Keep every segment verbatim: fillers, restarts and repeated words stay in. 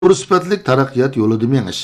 يۇقىرى سۈپەتلىك تەرەققىيات يولىدا مېڭىش،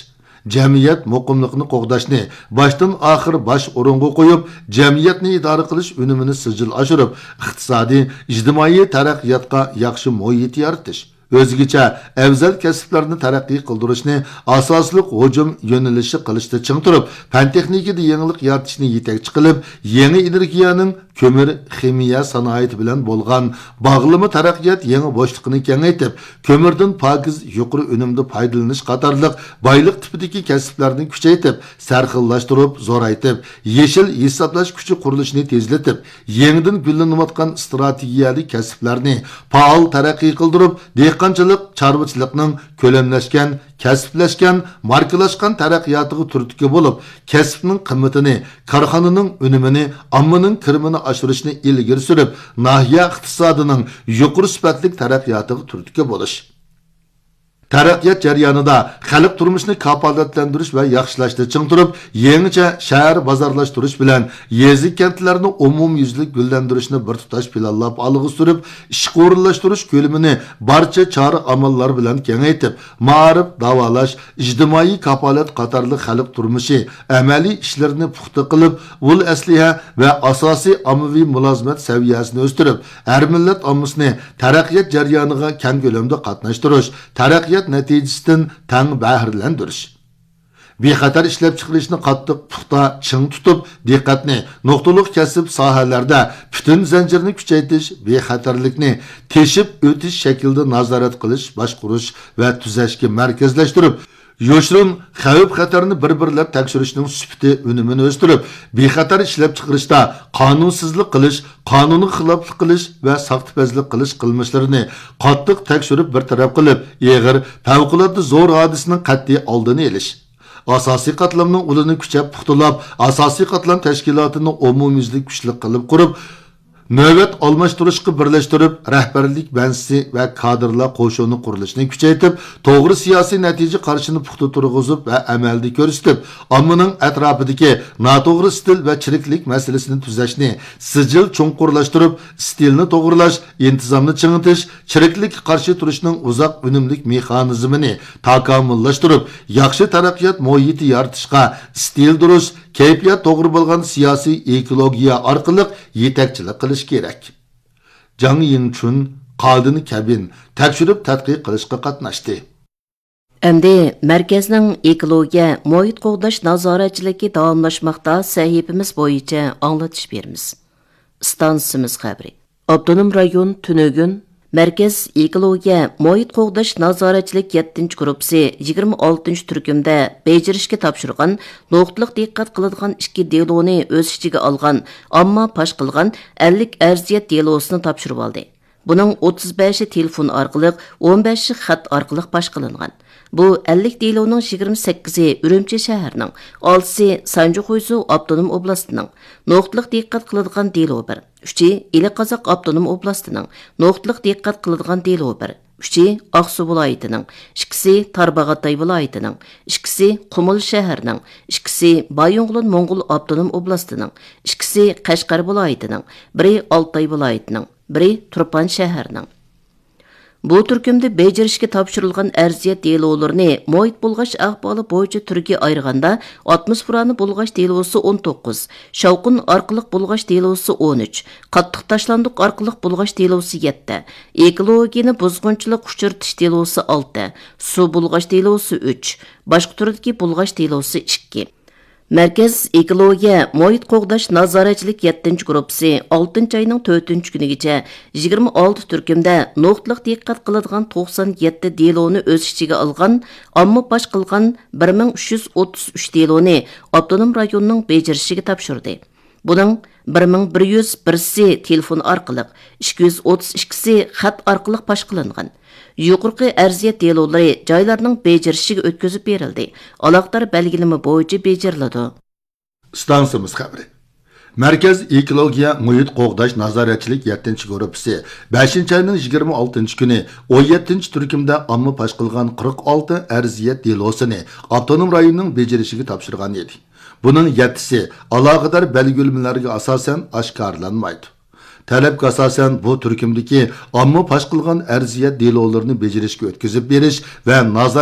جەمئىيەت مۇقىملىقىنى قوغداشنى باشتىن ئاخىر باش ئورۇنغا قويۇپ، جەمئىيەتنى ئىدارە قىلىش ئۈنۈمىنى سىجىل ئاشۇرۇپ، ئىقتىسادىي، ئىجتىمائىي تەرەققىياتقا ياخشى مۇھىت يارىتىش، ئۆزگىچە ئەۋزەل كەسىپلەرنى تەرەققىي قىلدۇرۇشنى ئاساسلىق ھۇجۇم يۆنىلىشى قىلىشتا چىڭ تۇرۇپ، پەن تېخنىكىدا يېڭىلىق يارىتىشنى يېتەكچى قىلىپ، يېڭى ئېنېرگىيەنىڭ كۆمۈر، خىمىيە سانائىتى بىلەن بولغان باغلىما تەرەققىيات يېڭى بوشلۇقىنى كېڭەيتىپ، كۆمۈردىن پاكىز، يۇقىرى ئۈنۈمدە پايدىلىنىش قاتارلىق بايلىق تىپىدىكى كەسىپلەرنى كۈچەيتىپ، سەرخىللاشتۇرۇپ، زورايتىپ، يېشىل ھېسابلاش كۈچى قۇرۇلۇشىنى تېزلىتىپ، يېڭىدىن گۈللىنىۋاتقان ئىستراتېگىيەلىك كەسىپلەرنى پائال تەرەققىي قىلدۇرۇپ، دېھقانچىلىق، چارۋىچىلىقنىڭ كۆلەملەشكەن، كەسىپلەشكەن، ماركىلاشقان تەرەققىياتىغا تۈرتكە بولۇپ، كەسىپنىڭ قىممىتىنى، كارخانىنىڭ ئۈنۈمىنى، ئاممىنىڭ كىرىمىنى ئاشۇرۇشنى ئىلگىرى سۈرۈپ، ناھىيە ئىقتىسادىنىڭ يۇقىرى سۈپەتلىك تەرەققىياتىغا تۈرتكە بولۇش. تەرەققىيات جەريانىدا خەلق تۇرمۇشىنى كاپالەتلەندۈرۈش ۋە ياخشىلاشتا چىڭ تۇرۇپ، يېڭىچە شەھەر بازارلاشتۇرۇش بىلەن يېزا، كەنتلەرنى ئومۇميۈزلۈك گۈللەندۈرۈشنى بىر تۇتاش پىلانلاپ ئالغا سۈرۈپ، ئىشقا ئورۇنلاشتۇرۇش كۆلىمىنى بارچە چارە ئاماللار بىلەن كېڭەيتىپ، مائارىپ، داۋالاش، ئىجتىمائىي كاپالەت قاتارلىق خەلق تۇرمۇشى ئەمەلىي ئىشلىرىنى پۇختا قىلىپ، ئۇل ئەسلىھە ۋە ئاساسىي ئاممىۋى مۇلازىمەت سەۋىيەسىنى ئۆستۈرۈپ، ھەر مىللەت ئاممىسىنى تەرەققىيات جەريانىغا كەڭ كۆلەمدە قاتناشتۇرۇش، تەرەققىيات نەتىجىسىدىن تەڭ بەھرىلەندۈرۈش. بىخەتەر ئىشلەپچىقىرىشنى قاتتىق، پۇختا، چىڭ تۇتۇپ، دىققەتنى نۇقتىلىق كەسىپ ساھەلەردە پۈتۈن زەنجىرنى كۈچەيتىش، بىخەتەرلىكنى تېشىپ ئۆتۈش شەكلىدە نازارەت قىلىش، باشقۇرۇش ۋە تۈزەشكە مەركەزلەشتۈرۈپ، يوشۇرۇن خەۋپ-خەتەرنى بىر-بىرلەپ تەكشۈرۈشنىڭ سۈپىتى، ئۈنۈمىنى ئۆستۈرۈپ، بىخەتەر ئىشلەپچىقىرىشتا قانۇنسىزلىق قىلىش، قانۇنغا خىلاپلىق قىلىش ۋە ساختىپەزلىك قىلىش قىلمىشلىرىنى قاتتىق تەكشۈرۈپ بىر تەرەپ قىلىپ، ئېغىر، پەۋقۇلئاددە زور ھادىسىنىڭ قەتئىي ئالدىنى ئېلىش. ئاساسىي قاتلامنىڭ ئۇلىنى كۈچەپ پۇختىلاپ، ئاساسىي قاتلام تەشكىلاتىنى ئومۇميۈزلۈك كۈچلۈك قىلىپ قۇرۇپ، نۆۋەت ئالماشتۇرۇشقا بىرلەشتۈرۈپ، رەھبەرلىك بەنزىسى ۋە كادىرلار قوشۇنى قۇرۇلۇشىنى كۈچەيتىپ، توغرا سىياسىي نەتىجە قارىشىنى پۇختا تۇرغۇزۇپ ۋە ئەمەلدە كۆرسىتىپ، ئاممىنىڭ ئەتراپىدىكى ناتوغرا ئىستىل ۋە چىرىكلىك مەسىلىسىنى تۈزەشنى سىجىل چوڭقۇرلاشتۇرۇپ، ئىستىلنى توغرىلاش، ئىنتىزامنى چىڭىتىش، چىرىكلىككە قارشى تۇرۇشنىڭ ئۇزاق ئۈنۈملۈك مېخانىزمىنى تاكامۇللاشتۇرۇپ، ياخشى تەرەققىيات مۇھىتى يارىتىشقا ئىستىل دۇرۇس، كەيپىيات توغرا بولغان سىياسىي ئېكولوگىيە ئارقىلىق يېتەكچىلىك قىلىش كېرەك. جاڭ يىڭچۈن، قادىن كەبىن تەكشۈرۈپ تەتقىق قىلىشقا قاتناشتى. ئەمدى مەركەزنىڭ ئېكولوگىيە، مۇھىت قوغداش نازارەتچىلىكى داۋاملاشماقتا سەھىپىمىز بويىچە ئاڭلىتىش بېرىمىز. ئىستانسىمىز خەۋىرى. ئاپتونوم رايون تۈنۈگۈن مەركەز ئېكولوگىيە، مۇھىت قوغداش نازارەتچىلىك يەتتىنچى گۇرۇپپىسى يىگىرمە ئالتىنچى تۈركۈمدە بېجىرىشكە تاپشۇرغان نۇقتىلىق دىققەت قىلىدىغان ئىككى دېلونى ئۆز ئىچىگە ئالغان ئامما پاش قىلغان ئەللىك ئەرزىيەت دېلوسىنى تاپشۇرۇۋالدى. بۇنىڭ ئوتتۇز بەشى تېلېفون ئارقىلىق، ئون بەشى خەت ئارقىلىق پاش قىلىنغان. بۇ ئەللىك دېلونىڭ يىگىرمە سەككىزى ئۈرۈمچى شەھىرىنىڭ، ئالتىسى سانجىخۇيزۇ ئاپتونوم ئوبلاستىنىڭ، نۇقتىلىق دىققەت قىلىدىغان دېلو بىر. ئۈچى ئىلى قازاق ئاپتونوم ئوبلاستىنىڭ، نۇقتىلىق دىققەت قىلىدىغان دېلو بىر. ئۈچى ئاقسۇ ۋىلايىتىنىڭ، ئىككىسى تارباغاتاي ۋىلايىتىنىڭ، ئىككىسى قۇمۇل شەھىرىنىڭ، ئىككىسى بايىنغولىن موڭغۇل ئاپتونوم ئوبلاستىنىڭ، ئىككىسى قەشقەر ۋىلايىتىنىڭ، بىرى ئالتاي ۋىلايىتىنىڭ، بىرى تۇرپان شەھىرىنىڭ. بۇ تۈركۈمدە بېجىرىشكە تاپشۇرۇلغان ئەرزىيەت دېلولىرىنى مۇھىت بۇلغاش ئەھۋالى بويىچە تۈرگە ئايرىغاندا، ئاتموسفېرانى بۇلغاش دېلوسى ئون توققۇز، شاۋقۇن ئارقىلىق بۇلغاش دېلوسى ئون ئۈچ، قاتتىق تاشلاندۇق ئارقىلىق بۇلغاش دېلوسى يەتتە، ئېكولوگىيەنى بۇزغۇنچىلىق ئۇچرىتىش دېلوسى ئالتە، سۇ بۇلغاش دېلوسى ئۈچ، باشقا تۈردىكى بۇلغاش دېلوسى ئىككى. مەركەز ئېكولوگىيە، مۇھىت قوغداش نازارەتچىلىك يەتتىنچى گۇرۇپپىسى ئالتىنچى ئاينىڭ تۆتىنچى كۈنىگىچە يىگىرمە ئالتە تۈركۈمدە نۇقتىلىق دىققەت قىلىدىغان توقسان يەتتە دېلونى ئۆز ئىچىگە ئالغان، ئامما پاش قىلغان بىر مىڭ ئۈچ يۈز ئوتتۇز ئۈچ دېلونى ئاپتونوم رايوننىڭ بېجىرىشىگە تاپشۇردى. بۇنىڭ بىر مىڭ بىر يۈز بىرسى تېلېفون ئارقىلىق، ئىككى يۈز ئوتتۇز ئىككىسى خەت ئارقىلىق پاش قىلىنغان. يۇقىرىقى ئەرزىيەت دېلولىرى جايلارنىڭ بېجىرىشىگە ئۆتكۈزۈپ بېرىلدى، ئالاقىدار بەلگىلىمە بويىچە بېجىرىلىدۇ. ئىستانسىمىز خەۋىرى. مەركەز ئېكولوگىيە، مۇھىت قوغداش نازارەتچىلىك يەتتىنچى گۇرۇپپىسى بەشىنچى ئاينىڭ يىگىرمە ئالتىنچى كۈنى ئون يەتتىنچى تۈركۈمدە ئامما پاش قىلغان قىرىق ئالتە ئەرزىيەت دېلوسىنى ئاپتونوم رايوننىڭ بېجىرىشىگە تاپشۇرغان ئىدى. بۇنىڭ يەتتىسى ئالاقىدار بەلگىلىمىلەرگە ئاساسەن ئاشكارىلانمايدۇ. تەلەپكە ئاساسەن بۇ تۈركۈمدىكى ئامما پاش قىلغان ئەرزىيەت دېلولىرىنى بېجىرىشكە ئۆتكۈزۈپ بېرىش ۋە نازارەت